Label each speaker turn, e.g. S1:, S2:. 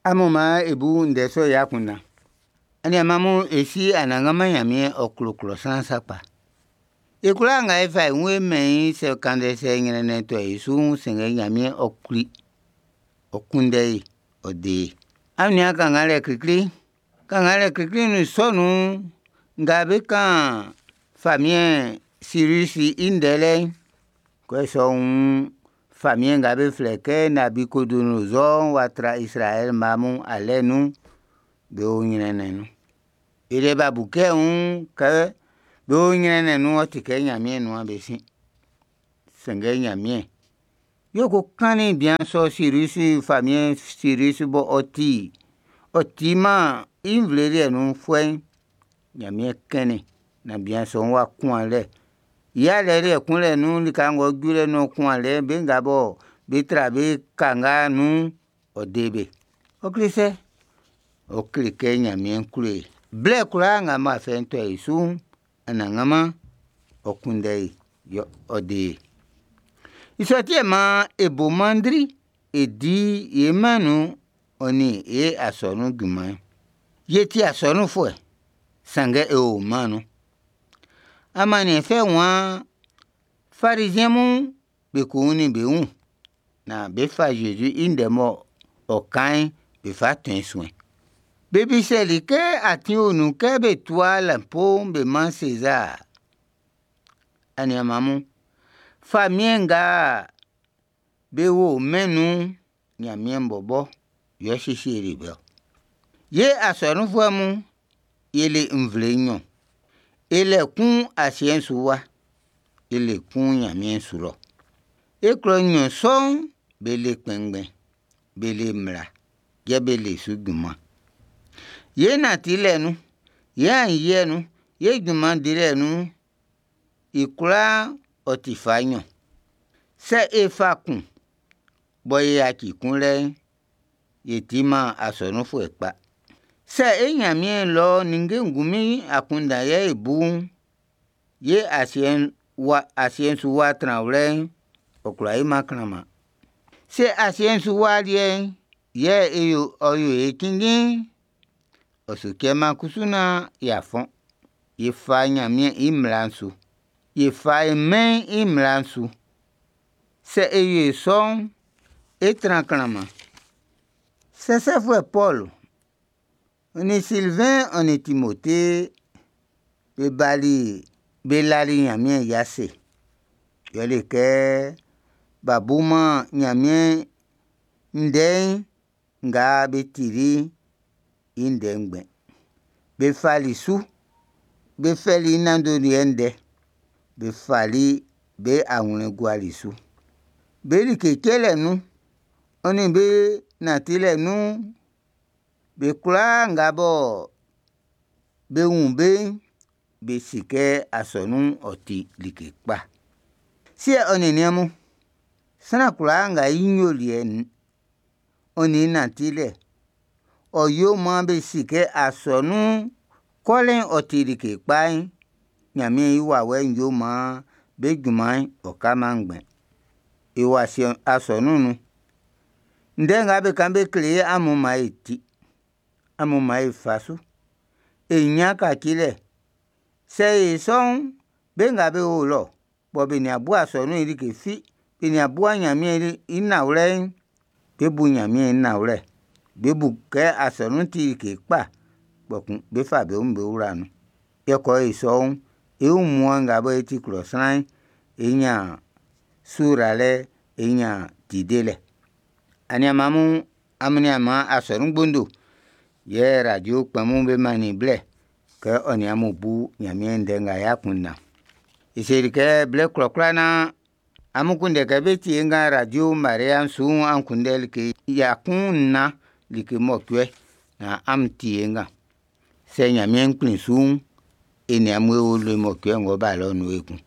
S1: Amun maan e bu ndɛ sɔ'n i akunndan. Aniaan mun, e si Anannganman Ɲanmiɛn ɔ klo klɔ sran sakpa. E kwlaa nga e fa e wun e mɛn i'n, sɛ kannzɛ sɛ ɲrɛnnɛn tɔ e su'n, sanngɛ Ɲanmiɛn ɔ kpli, ɔ kunndɛ e, ɔ de e. Amun nian kannganlɛ klikli'n. Kannganlɛ klikli'n nun sɔ nun'n, nga be kan famiɛn Sirisi i ndɛ lɛ'n, kɛ sɔ'n famiɛn nga be flɛ kɛ Nabikodonozɔɔ'n w'a tra Izraɛli mma mun alɛ nun, be o ɲrɛnnɛn nun. Be liɛ b'a bu kɛ wun kɛ be o ɲrɛnnɛn nun'n, ɔ ti kɛ Ɲanmiɛn nuan be sin. Sanngɛ Ɲanmiɛn, yɛ ko kannin bian sɔ Sirisi famiɛn Sirisi bɔ ɔ ti ɔ timan i nvle liɛ nunfuɛ'n, Ɲanmiɛn kɛnnin naan bian sɔ'n w'a kun alɛ. I alɛ liɛ kunlɛ nun lika ng'ɔ ju lɛ naan ɔ́ kún alɛ'n, be nga bɔ be tra be kanga nun'n, ɔ de be. Ɔ kle sɛ? Ɔ kle kɛ Ɲanmiɛn klo e. Blɛ kwlaa nga mɔ afɛ'n tɔ e su'n, Anannganman ɔ kunndɛ e, yɛ ɔ de e. I sɔ ti yɛ maan e bo mannzin e di e mɛn nun ɔ nin e asɔnun junman'n. Ye ti asɔnunfuɛ, sanngɛ e o mɛn'n nun. Amanniɛn fɛ waan Fariziɛn mun be ko wunnin be wun naan be fa Zezi i ndɛ mɔ ɔ kan'n be fa tɔn i suɛn. Be bisɛli kɛ atin o nun kɛ be tua lɛnpo'n be man Sezar. Aniaan mun, famiɛn nga be wo mɛn nun'n, Ɲanmiɛn bɔbɔ yɛ ɔ siesieli be ɔ. Ye asɔnunfuɛ mun, ye le nvle nɲɔn. E le kun asiɛ'n su wa, e le kun ɲanmiɛn su lɔ. E klɔ nɲɔn sɔ'n, be le kpɛnngbɛn, be le mmla, yɛ be le su junman. Ye nantilɛ nun, ye aɲinyiɛ nun, ye junman dilɛ nun'n, i kwlaa ɔ ti fa nɲɔn. Sɛ e fa kun, bɔ e yaci kun lɛ'n, e timan asɔnunfuɛ kpa. Sɛ e Ɲanmiɛn lɔ ninnge ngunmin akunndan yɛ e bu'n, ye asiɛ'n wa asiɛ'n su wa tranwlɛ'n, ɔ kwlá yoman klanman. Sɛ asiɛ'n su wa liɛ'n yɛ e yo ɔ yo e cinnjin'n, ɔ su cɛman kusu naan y'a fɔn. E fa Ɲanmiɛn i mmla'n su. E fa e mɛn'n i mmla'n su. Sɛ e yo sɔ'n, é trán klanman. Sɛsɛfuɛ Pɔlu, ɔ nin Silvɛn ɔ nin Timote be bali be lali Ɲanmiɛn i ase. Yɛle kɛ b'a buman Ɲanmiɛn ndɛ'n nga be tili'n i ndɛ ngbɛn. Be fali su, be fɛli i nanndoliɛ ndɛ, be fali be awlɛn guali su. Be like cɛlɛ nun, ɔ nin be nantilɛ nun'n, be kwlaa nga bɔ be wun be'n, be si kɛ asɔnun'n ɔ ti like kpa. Siɛ ɔ nin niɛn mun, sran kwlaa nga i ɲoliɛ'n ɔ nin i nantilɛ'n, ɔ yo maan be si kɛ asɔnun kɔlɛ'n ɔ ti like kpa'n, Ɲanmiɛn i wawɛ'n yo maan be junman'n ɔ kaman ngbɛn. E o asɔnun'n nun. Ndɛ nga be kan be kle e'n, amun man e ti. Amun man e fa su. E ɲan kacilɛ. Sɛ e yo sɔ'n, be nga be o lɔ bɔ be nin a bu asɔnun'n i like fi, be nin a buman Ɲanmiɛn i nanwlɛ'n, be bu Ɲanmiɛn i nanwlɛ. Be bu kɛ asɔnun'n ti like kpa, kpɔkun be fa be wun be wla nun. Yɛ kɛ ɔ yo sɔ'n, e wunmuan nga bɔ e ti klɔ sran'n, e ɲan suralɛ, e ɲan ti delɛ. Aniaan mun, amun nian maan asɔnun gbondo yɛ radio kpɛn mun be mannin blɛ kɛ ɔ nin amun bu Ɲanmiɛn ndɛ nga i akunndan. E seli kɛ blɛ kwlakwla naan amun kunndɛ kɛ be tie nga radio Maria'n su'n, an kunndɛ like ya kun nnan like mɔcuɛ naan amun tie nga. Sɛ Ɲanmiɛn kplin su'n, e nin amun e o le mɔcuɛ ng'ɔ́ bá lɔ'n nun ekun.